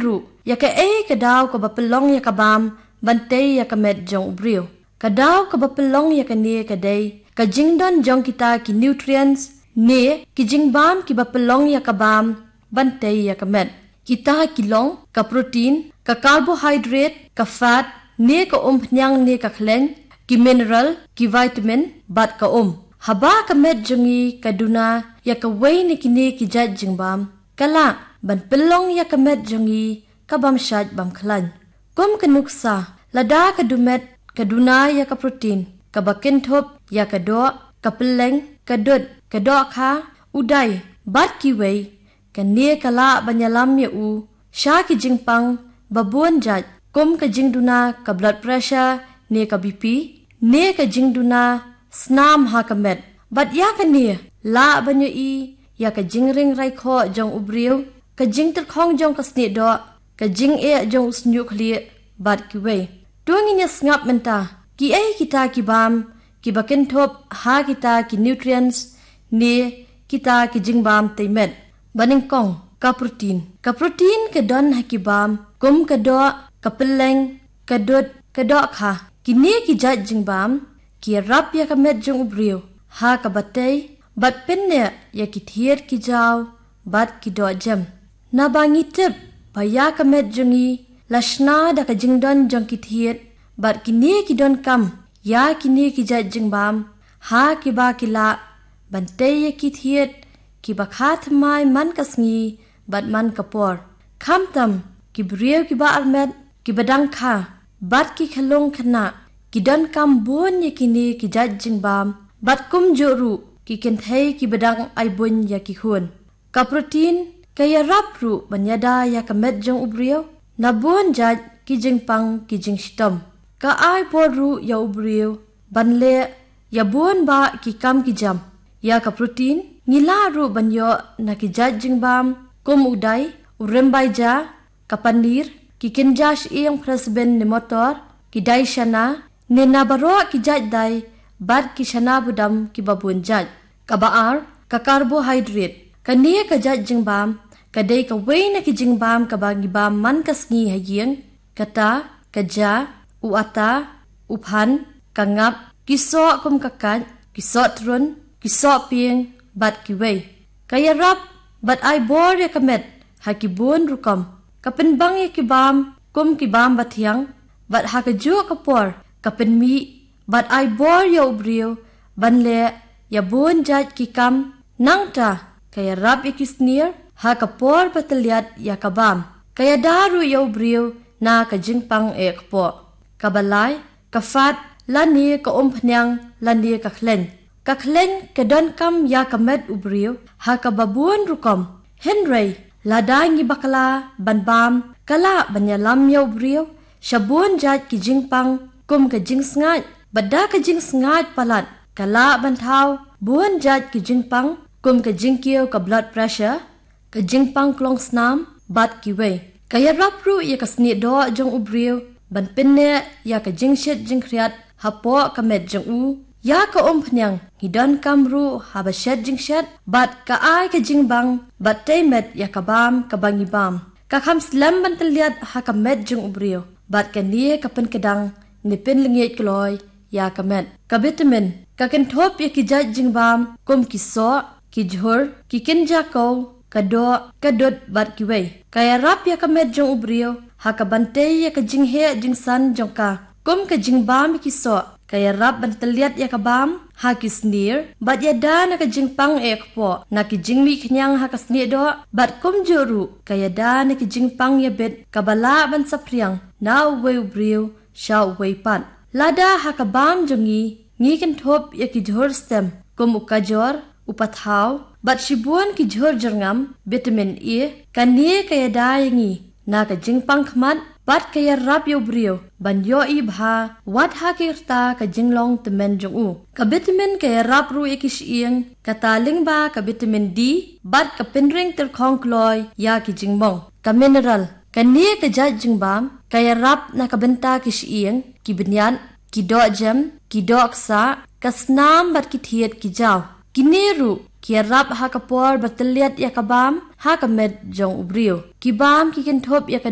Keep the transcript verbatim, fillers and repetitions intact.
ruh ïa kaei ka daw kaba pynlong ïa ka bam ban tei ïa ka met jong u briew. Ka daw kaba pynlong ïa kane ka dei ka jingdon jong kita ki nutrients ne ki jingbam kiba pynlong ïa ka bam ban tei ïa ka met. Kita ki long ka protein, ka carbohydrate, ka fat, ne ka umphniang ne ka khleiñ, ki mineral, ki vitamin, bad ka um. Haba ka met jong ngi ka duna ïa kawei na kine ki jait jingbam, ka lah ban pynlong ïa ka met jong ngi ka bam shait bam khlaiñ. Kum ka nuksa, lada ka dumet ka duna ïa ka protein, kaba kynthup ïa ka doh, ka pylleng, ka dud, ka dohkha, u dai, bad kiwei, kane ka lah ban ïalam ïa u sha ki jingpang ba bun jait, kum ka jingduna ka blood pressure ne ka B P, ne ka jingduna snam ha ka met. Bad ïa kane lah ban ïohi ïa ka jingring raikhoh jong u briew, ka jingtyrkhong jong ka sniehdoh, ka jingeh jong u shñiuh khlieh, bad kiwei. To ngin ïa sngap mynta kiei kita ki bam kiba kynthup ha kita ki nutrients ne kita ki jingbam tei met. Ba nyngkong, ka protein. Ka protein ka don ha ki bam kum ka doh, ka pylleng, ka dud, ka dohkha. Kine ki jait jingbam ki ïarap ïa ka met jong u briew ha kaba tei bad pynneh ïa ki thied ki jaw bad ki dohjem. Naba ngi tip ba ïa ka met jong ngi la shna da ka jingdon jong ki thied, bad kine ki donkam ïa kine ki jait jingbam ha kiba ki lah ban tei ïa ki thied kiba kha thymmai man ka sngi bad man ka por. Khamtam ki briew kiba armet, kiba dang kha, bad ki khyllung khynnah ki donkam bun ïa kine ki jait jingbam, bad kumjuh ruh ki kynthei kiba dang ai buiñ ïa ki khun. Ka protein ka ïarap ruh ban ïada ïa ka met jong u briew na bun jait ki jingpang ki jingshitom. Ka ai bor ruh ïa u briew ban leh ïa bun bah ki kam ki jam. Ïa ka protein ngi lah ruh ban ïoh na ki jait jingbam kum u dai, u rymbai ja, ka paneer, ki kynja shyieng phresben ne motor, ki dai shana, ne na baroh ki jait dai, bad ki shana budam kiba bun jait. Kaba ar, ka carbohydrate. Kane ka jait jingbam ka dei kawei na ki jingbam kaba ngi bam man ka sngi ha ïing, kata ka ja, u ata, u phan, ka ngap, ki soh kum ka kait, ki soh trun, ki soh pieng, bad kiwei. Ka ïarap bad ai bor ïa ka met ha ki bun rukom. Ka pynbang ïa ki bam kum ki bam bathiang, bad ha kajuh ka por ka pynmih bad ai bor ïa u briew ban leh ïa bun jait ki kam. Nangta ka ïarap ïa ki snier ha ka por ba tylliat ïa ka bam. Ka ïada ruh ïa u briew na ka jingpang eh kpoh. Kaba lai, ka fat, lane ka umphniang, lane ka khleiñ. Ka khleiñ ka donkam ïa ka met u briew ha kaba bun rukom. Hynrei lada ngi bakla ban bam, ka lah ban ïalam ïa u briew sha bun jait ki jingpang kum ka jingsngaid. Bad da ka jingsngaid palat ka lah ban thaw bun jait ki jingpang kum ka jingkiew ka blood pressure, ka jingpang klong snam, bad kiwei. Ka ïarap ruh ïa ka sniehdoh jong u briew ban pynneh ïa ka jingshit jingkhriat hapoh ka met jong u. Ïa ka umphniang ngi donkam ruh haba shet jingshet, bad ka ai ka jingbang bad tei met ïa ka bam kaba ngi bam. Ka kham slem ban tylliat ha ka met jong u briew, bad kane ka pynkdang ne pynlyngngiej kloi ïa ka met. Ka vitamin ka kynthup ïa ki jait jingbam kum ki soh, ki jhur, ki kynja kow, ka doh, ka dud, bad kiwei. Ka ïarap ïa ka met jong u briew ha kaban tei ïa ka jingheh jingsan jong ka, kum ka jingbam ïa ki soh. Ka ïarap ban tylliat ïa ka bam ha ki snier bad ïada na ka jingpang eh kpoh, na ki jingmih khñiang ha ka sniehdoh, bad kumjuh ruh ka ïada na ki jingpang ïabit kaba lah ban saphriang na uwei u briew sha uwei pat. Lada ha ka bam jong ngi ngi kynthup ïa ki jhur stem kum u kajor, u pathaw, bad shibun ki jhur jyrngam, vitamin A, kane ka ïada ïa ngi na ka jingpang khmat, bad ka ïarap ïa u briew ban ïohi bha wat ha ki rta ka jinglong tymmen jong u. Ka vitamin ka ïarap ruh ïa ki shyieng, kata lyngba ka vitamin D, bad ka pynring tyrkhong kloi ïa ki jingmong. Ka mineral, kane ka jait jingbam ka ïarap na ka bynta ki shyieng, ki bniat, ki dohjem, ki dohksah, ka snam, bad ki thied ki jaw. Kine ruh ki ïarap ha ka por ba tylliat ïa ka bam ha ka met jong u briew. Ki bam ki kynthup ïa ka